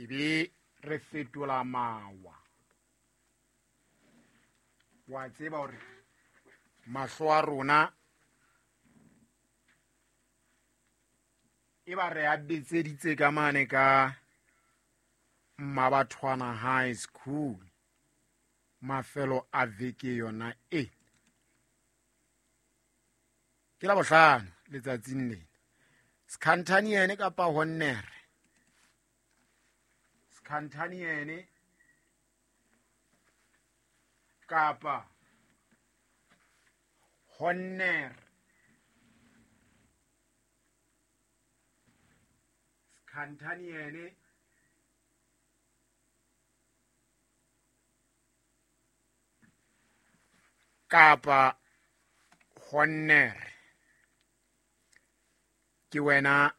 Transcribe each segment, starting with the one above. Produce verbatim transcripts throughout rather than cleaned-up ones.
Ebe re fetola mawa. Wa tseba hore mahlo a rona e ba re a betseditse ka mane ka Mmabathwana High School mafelo a veke yona e. Ke la bohlano letsatsing lena. Skhantaniene kapa Honnere. Skhantaniene kapa Honnere. Skhantaniene kapa Honnere. Ke wena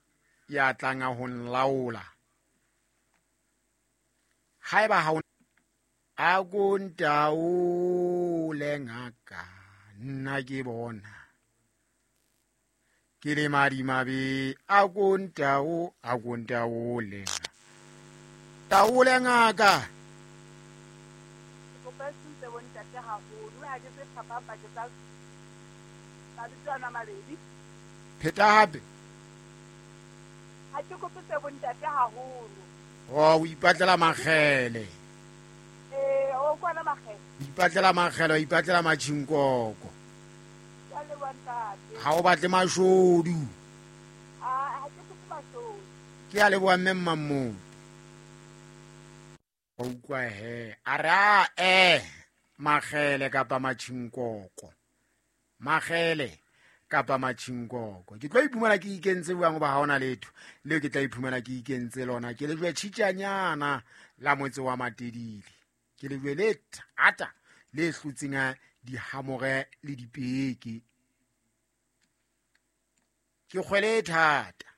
ya tlang ho nlaola. Haeba ha o a ko ntaole ngaka nna ke bona ke le madimabe, a ko ntao a ko ntaole taole ngaka. Ke kopa se bontate haholo ha ke se phapang pakeng tsa mabitso ana mabedi. Pheta hape. Ha ke kope tse bontate haholo. Oh, o ipatlela makgele. Eh, o kwana makgele. O ipatlela makgele, o ipatlela matjhinkoko. Ke a leboha ntate. Ha o batle mashodu. Ah, ha ke kope mashodu. Ke a leboha mme Mmammodi. Wa utlwa he. A re a eh makgele kapa matjhinkoko. Makgele kapa matjhinkoko. Ke tlo iphumana ke ikentse jwang hoba ha hona letho leo ke tla iphumana ke ikentse lona. Ke lejwe tjhitjanyana la motse wa Matedile. Ke lejwe le thata le hlotseng dihamore le dipeke. Ke kgwele e thata.